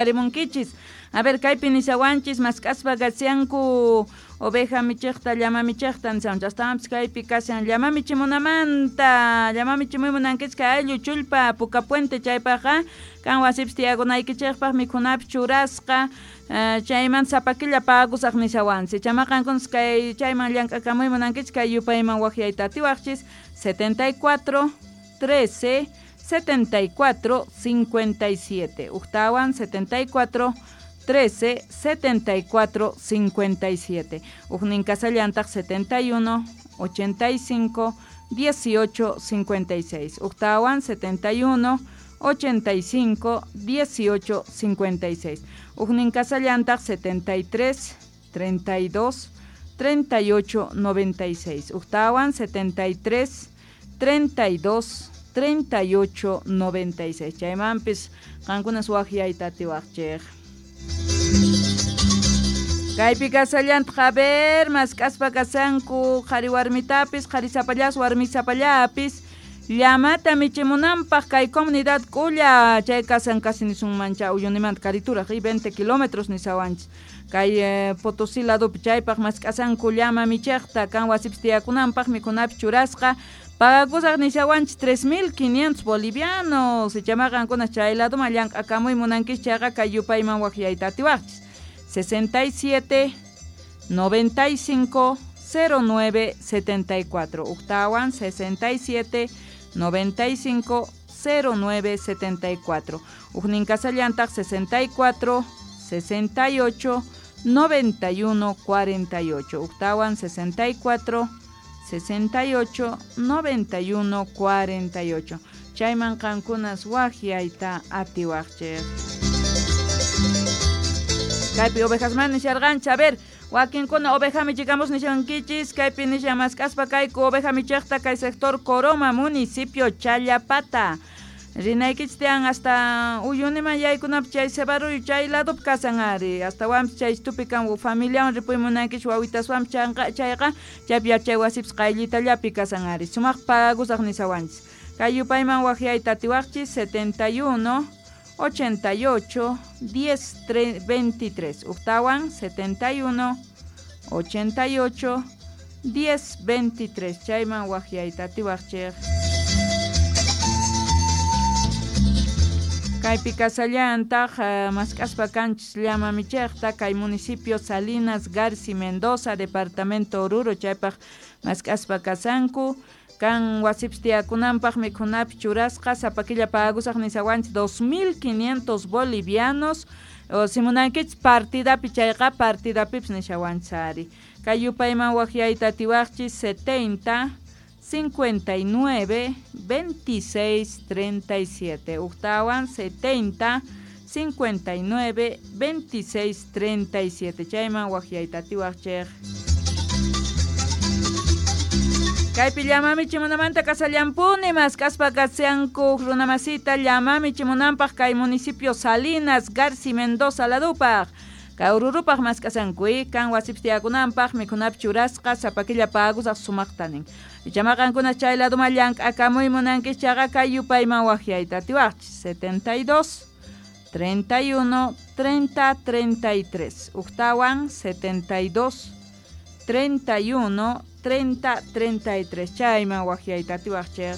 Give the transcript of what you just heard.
Rimunkichis. A ver, kaypi nishawanchis mask'aspa kashanku oveja michiqta, llama michiqta nishawanchis. Astawanpis kaypi kashan llama michimunamanta, llama michimuy munankichis kay ayllu chullpa Puka Puente chaypaqqa kan wasipis tiyakunaykichikpaq mikhunapis churasqa chaymanta sapa killa pagusaq nishawanchis. Chamaqankunas kay chayman llank'akamuy munankichis kay yupayman waqyayta atiwaqchis 74 13 74 57. Ujtawan 74 13 74 57. Ujnin kasallantaq 71 85 18 56. Ujtawan 71 85 18 56. Ujnin kasallantaq 73 32 38 96. Ujtawan 73 32 38 96. Chaymanpis qankunas waqyayta atiwaqchik. Kaypi kasallantaq, a ver, mask'aspa kasanku qhari warmitapis, qhari sapallas, warmi sapallapis, llamata michimunanpaq kay comunidad k'ulla, chay kasan casi nisunmancha Uyunimanta karituraq, y 20 kilómetros nisawanchis. Kay Potosí ladopi chaypaq mask'asanku llama michiqta, kan wasipis tiyakunanpaq mikhunapis churasqa, pagakusaq nishawanchis 3500 bolivianos. Ichamaqankuna chay ladoman llank'akamuy munankis chayqa kay yupayman waqyayta atiwaqchis. 67 95 09 74. Ujtawan 67 95 09 74. Ujnin kasallantaq 64 68 91 48. Ujtawan 64 68 91 48. Chayman qankunas waqyayta atiwaqchik. Kaypi ovejasman nisharqanchis, a ver, wakinkuna oveja michikamos nishankichis, kaypi nishan mask'aspa kayku oveja michiqta kay sector Coroma, municipio Challapata. Rinaykichis tiyan hasta Uyuniman yaykunapi chay Cebarruyo chay ladopi kasan ari, astawanpis chay tupi kan familiawan ripuy munankichis wawitaswanpis chayqa chaypi yachay wasipis qayllitallapi kasan ari, sumaq pagusaq nishawanchis. Kay yupayman waqyayta atiwaqchis 71 88 10 23. Ujtawan 71 88 10 23. Chayman waqyayta atiwaqchik. Kaypi kasallantaq mask'aspa kanchis llama michiqta kay municipio Salinas Garci Mendoza, departamento Oruro, chaypaq mask'aspa kasanku. Kan wasipis tiyakunanpaq mikhunapis churasqa, sapa killa pagusaq nishawanchis 2500 bolivianos. O si munankichis partidapi chayqa partidapipis nishawanchis ari. Kay yupayman waqyayta atiwaqchis 70 59 26 37. Ujtawan 70 59 26 37. Chayman waqyayta atiwaqchik. Kaypi llama michimunamanta kasallampuni mask'aspa kashanku runamasita llama michimunanpaq kay municipio Salinas Garci Mendoza ladupaq. Kay Orurupaq mask'asanku, kan wasipis tiyakunanpaq mikhunapis churasqa sapa killa pagusaq sumaqta nin. Ichamaqankuna chay ladoman llank'akamuy munankis chayqa kay yupayman waqyayta atiwaqchis 72 31 30 33. Ujtawan 72 31 30 33. Chayman waqyayta atiwaqchik.